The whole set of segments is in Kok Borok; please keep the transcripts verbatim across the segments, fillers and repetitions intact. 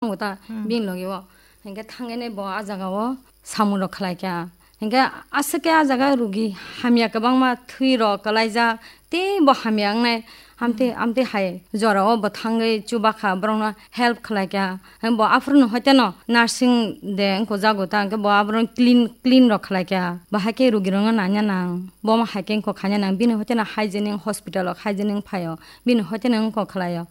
Tongo ta, hmm, bini logi o. Hinkhe thangwi bo a jaga o samung rok khlai kha. Hinkhe aswk khe a jaga rugi hamya kwbangma thwi rok kwlaijak, tei bo hamya wngnai. Amtwi, hmm, amtwi hai jora o bo thangwi chuba kha, borok no help khlai kha. Hinkhe bo aphuru no hoite no nursing de wngkho jago ta, hinkhe bo aborok no clean, clean rok khlai kha. Bahai khe rugi rok no nanya nang, bo ma hai khe wngkho khaina nang, bini hoite no hygienic hospital o hygienic phai o, bini hoite no wngkho khlai o.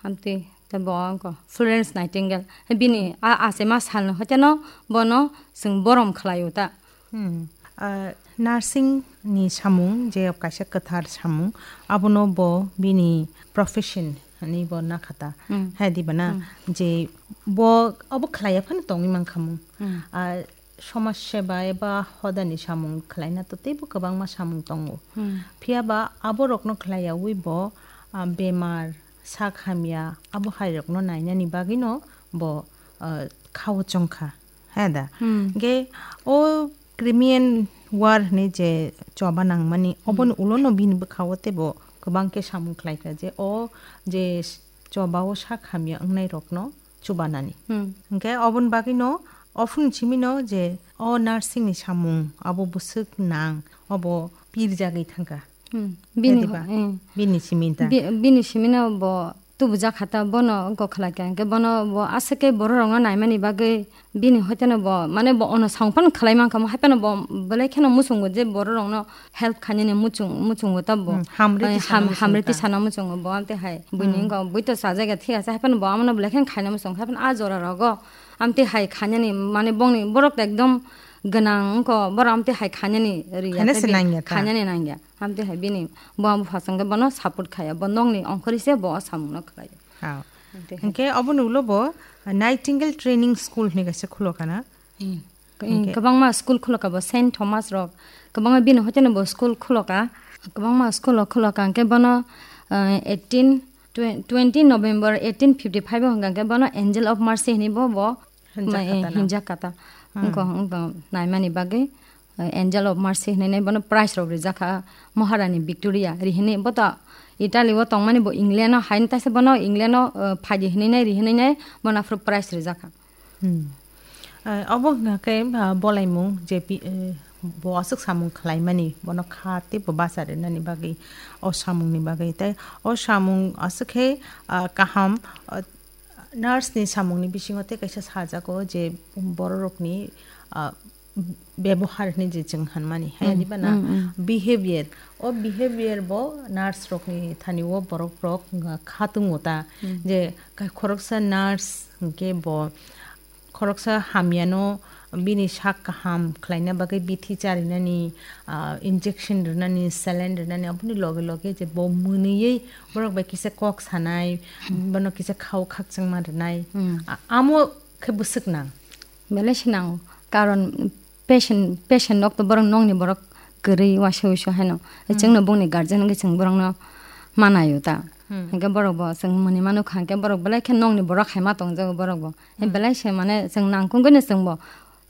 Amtwi. Tei bo wngkha Florence Nightingale. Bini a achaima salni hoiteno bono chwng borom khlaio ta. Hmm. Ah, nursing ni samung, je kaisa kwthar samung, abono bo bini profession hinwi bo nakha ta. Hmm. Hai di ba na? Hmm. Je bo abo khlaiya phano tongwi mankha mung. Hmm. Ah, somaj seba eba hodani samung khlaina to teibo kwbangma samung tongo. Hmm. Phiya ba aborokno khlaiyawi bo, ah, bemar, sak hamya, abo hairokno nainani bagwino bo, ah, khao chongkha, he da? Hmm. Ge o Crimean War hinwi je choba nangmani, hmm, oboni ulono bini bwkhao teibo kwbang khe samung khlaikha je o je chobao sak hamya wngnairokno chubanani. Hmm. Hinkhe oboni bagwino ophun simino je o nursing ni samung abo bwswk nang, obo pirjagwi thangkha. Hmm. Bini, diba? Hmm. Bini siminta. Bi-, bini simino bo tubujak kha ta, bono wngkok khlai kha. Hinkhe bono bo aswk khe borok rokno naimani bagwi bini hoiteno bo, mane bo ono samung phano khlai mankha, hapheno bo belai kheno muchungo je borok rokno help khainani muchung-, muchungo ta bo. Hmm, hamrwtwi eh, sana ham-, muchungo hamrwtwi ta. Sana muchungo bo, amtwi hai buini hmm wngkha, bui to chajak ya, thik ase, hapheno bo amono belai kheno khaina muchungo, hapheno a jora rogo amtwi hai khainani, mane bongni borok to ekdom gwnang wngkha, borok amtwi hai khainani ri ya, khaina tei se bi-, nang ya ta. Khainani nang ya, amtwi hai bini bo amo phasong khe bono support khaya, bo nokni ongkhorwi se bo o samungno khlai. Ha. Amtwi hai. Hinkhe oboni ulo bo Nightingale Training School hinwi kaisa khulo kana? Hmm. Hinkhe kwbangma school khulo ka bo, Saint Thomas rok, kwbangma bini hoiteno bo school khulo ka, kwbangma school rok khulo ka, hinkhe bono, eh, eighteen, twen-, twenty November eighteen fifty-five o hwnka hinkhe bono Angel of Mercy hinwi bo, bo hinjak ma, eh, kha ta na? Hinjak kha ta. Hmm. Wngkha, wngkha naimani bagwi, eh, Angel of Mercy hinwi bono prize rok rijak kha, Maharani Victoria ri hinwi bo to Italy o tongmani bo England o haino taisa bono England o, eh, phaidi hinwi nai ri hinwi nai bono aphuru prize rijak kha. Hmm. Ah, obo hwnkha khe, ah, bolaimung je pi-, eh, bo aswk samung khlaimani, bono kha tei bo bacha rwnani bagwi, o samungni bagwi. Tei o samung aswk khe, ah, kaham, ah, nurse ni samungni bisingo tei kaisa sajago je bororokni, ah, bebohar hinwi je chwng hanmani, hai hmm, diba na? Hmm, hmm. Behavior, o behavior bo nurse rokni thani o borok rok, ah, kha tongo ta, hmm, je ka-, khoroksa nurse hinkhe bo khoroksa hamyano bini sak kaham khlaina bagwi bithi charinani, ah, injection rwnani, saline rwnani, aboni loge loge je bo mwnwiwi borok bai kisa kok sanai, hmm, bono kisa khao khakchangma rwnai. Hmm. A-, amo khe bwswk nang. Belai se nango. Karon patient, patient nok to borok nokni borok kwrwi uaisa uisu haino. Hmm. Chwngno bongni guardian wngwi chwng borokno manaio ta. Hmm. Hinkhe borok bo chwng mwnwi mano kha hinkhe borok belai khe nokni borok hai ma tongjago borok bo. Hmm. Belai se mane chwng nangkukgwino chwng bo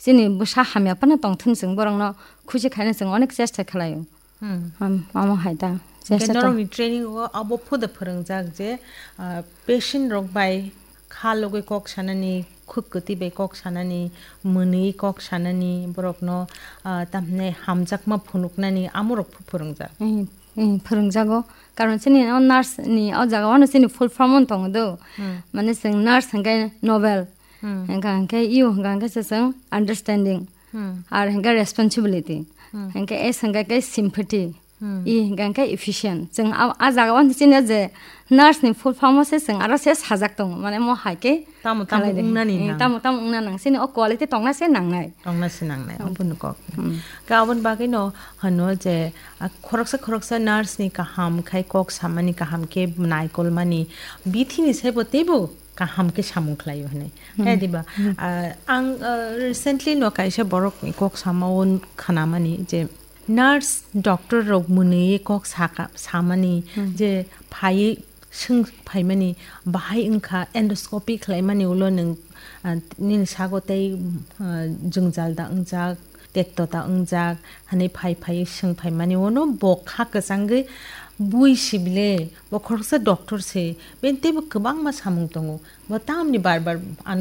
chini bwsa hamya phano tongthun chwng borokno khusi khaina chwng onek chesta khlaio. Hmm. Am-, amo hai ta. Hinkhe chesta to. Norokni training o abo phuda phwrwngjak je, ah, patient rok bai kha logwi kok sanani, khuk kwtwi bai kok sanani, mwnwi kok sanani, borokno, ah, tamhinai hamjakma phunuknani, amorok phu-, phwrwngjak. Hmm, hmm, phwrwngjago. Karon chini o nurse ni o jaga o no chini full form wng tongo do. Hmm. Mane chwng nurse hinkhe noble. Hmm. Hinkha hinkhe U hinkha hinkhe se chwng understanding. Hmm. R hinkhe responsibility. Hmm. Hinkhe S hinkha khe sympathy. Hmm. E hinkha hinkhe efficient. Chwng a, a jaga o chini je nurse ni full form o se chwng aro se sajak tongo. Mane mo hai khe tamo tamo khalai de. Wngnani eh, nang. Tamo tamo wngna nang. Chini o quality tongna se nangnai. Tongna se nangnai. Hmm. Obo no kok. Hmm. Ka aboni bagwi no hano je, a, khoroksa khoroksa nurse ni kaham khai kok samani kaham khe naikolmani bithini saibo teibo kaham khe samung khlaio hinwi. Hmm. Hai diba? Hmm. Ah, ang, ah, recently no kaisa borok ni kok sama o khanamani je nurse, doctor rok mwnwi kok saka, samani hmm je phaiwi swng phaimani bahai wngkha endoscopy khlaimani ulo nwng, ah, nini sago tei, ah, jwngjal da wngjak, tekto ta wngjak, hinwi phai phai swng phaimani uno bo kha kwchangwi bui sibile, bo khoroksa doctor se, bini teibo kwbangma samung tongo, bo tamni bar bar ano